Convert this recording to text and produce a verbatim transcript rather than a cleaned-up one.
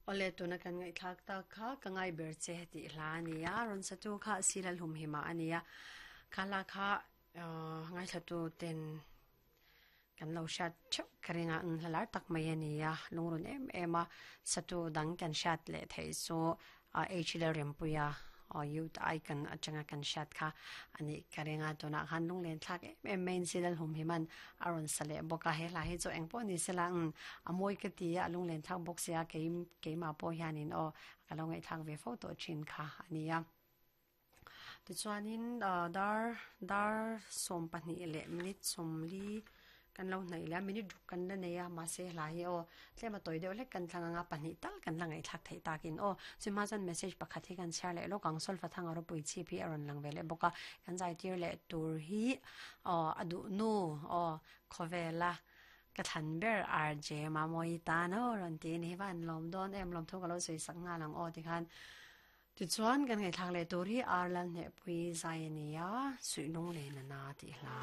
Ole tuna kan ngai thak ta kha ka ngai ber che ti hla ania ron satu kha silal hum hima ania khala kha ngai thatu ten kan lo shat cheu karinga ang hlalar tak mai ania lungrun em ema satu dang kan shat le thei so h le rempuia o youth icon atanga kan shat kha ani karinga tuna khan lung len thak em em main silal hum himan aron sale boka he la hi cho engpo ni sela ang amoi ka ti a lung len thak bok sia ke ke ma po hianin o ka lo ngai thak ve photo chin kha ania ti chuanin dar dar som pahnih le minute somli kan lo hnai la minute ruk kan la nei a ma se hla hi o tlema toi deuh hlek kan thlanga nga pahnih tal kan la ngai thlak thei takin o chuma chuan message pakhat hi kan share leh lawk ang solfa thang aro pui chi phi a rawn lang ve leh bawk a kan zai tir leh tur hi aw a duh nu aw khawvela ka thlan ber R J Mamawii tan aw rawn ti a ni hi va an lawm dawn em lawm thu ka lo sawi sak nghal ang aw tikhan tichuan kan ngaihthlak leh tur hi R Lalhnehpui zai a ni a suihnung leh nana tih hla.